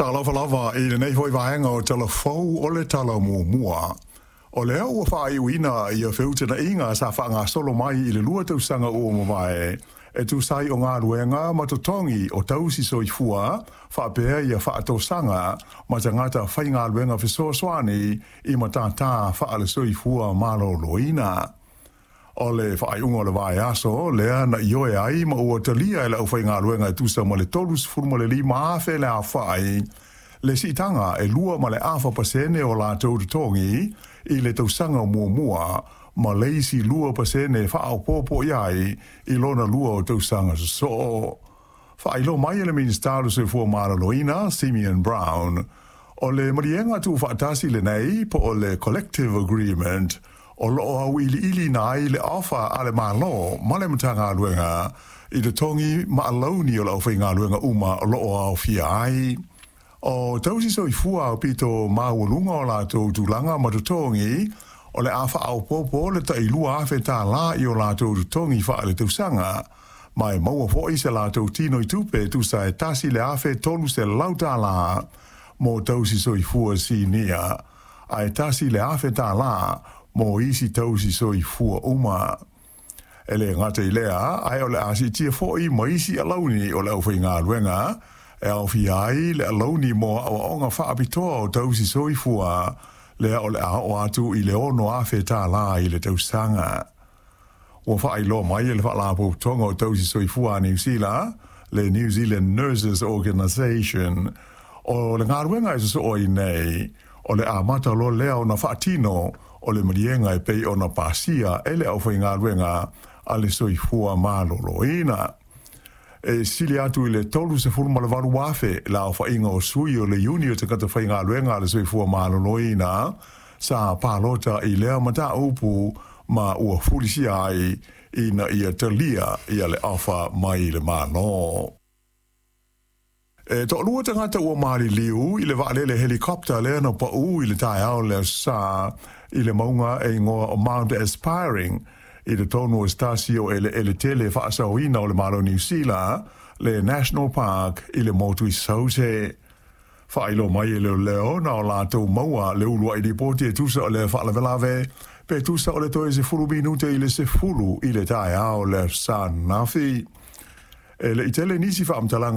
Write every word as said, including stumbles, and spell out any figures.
Talofa lava i lenei foi vaega o Talafou o le Tala Muamua. O lea ua faaiuina ia feutagaiga sa faagasolo mai i le lua tausaga ua mavae e tusa ai o galuega ma totogi o tausi soifua faapea ia faatosaga ma tagata faigaluega fesoasoani i matatā faale-soifua maloloina. O le faaiuga o le vaiaso lea na ioe ai ma ua talia e le aufaigaluega e tusa ma le tolusefulu ma le lima afe le aofai le siitaga e lua ma le afa pasene o latou totogi i le tausaga muamua ma le isi lua pasene faaopoopo i ai i lona lua o tausaga sosoo. Faailoa mai e le Minisita o le Soifua Maloloina, Simeon Brown, o le maliega tuufaatasi lenei po o le Collective Agreement o loo auiliiliina ai le ofa a le Malo ma le Matagaluega i totogi ma alauni o le aufaigaluega uma o loo aofia ai. O tausi soifua aupito maualuga o latou tulaga ma totogi, o le a faaopoopo le tai lua afe tālā i o latou totogi faaletausaga, ma e maua foi se latou tinoitupe e tusa e tasi le afe tolu selau tālā mo tausi soifua sinia, ae tasi le afe tālā mo isi tausi soifua uma. E le gata i lea, ae o le a siitia foi ma isi alauni o le aufaigaluega, e aofia ai le alauni mo aoaoga faapitoa o tausi soifua, lea o le a oo atu i le ono afe tālā i le tausaga. Ua faailoa mai e le Faalapotopotoga o Tausi Soifua a Niu Sila, le New Zealand Nurses Organisation, o le galuega e sosoo ai nei, o le amata loa lea ona faatino o le maliega e pei ona pasia e le aufaigaluega a le soifua maloloina. E sili atu i le tolusefulu ma le valu afe le aofaiga o sui o le iuni o tagata faigaluega a le soifua maloloina sa palota i lea mataupu ma ua fulisia ai ina ia talia ia le ofa mai le Malo. E toalua tagata ua maliliu i le vaalele helicopter lea na pau i le taeao le Aso Sa i le mauga e igoa o Mount Aspiring i totonu o se tasi o eleele tele faasaoina o le Malo o Niu Sila, le National Park i le motu i Saute. Faailoa mai e leoleo na o latou maua le uluai lipoti e tusa o le faalavelave pe tusa o le toe sefulu minute i le sefulu i le taeao le Aso Sa ananafi. E le i tele nisi faamatalaga.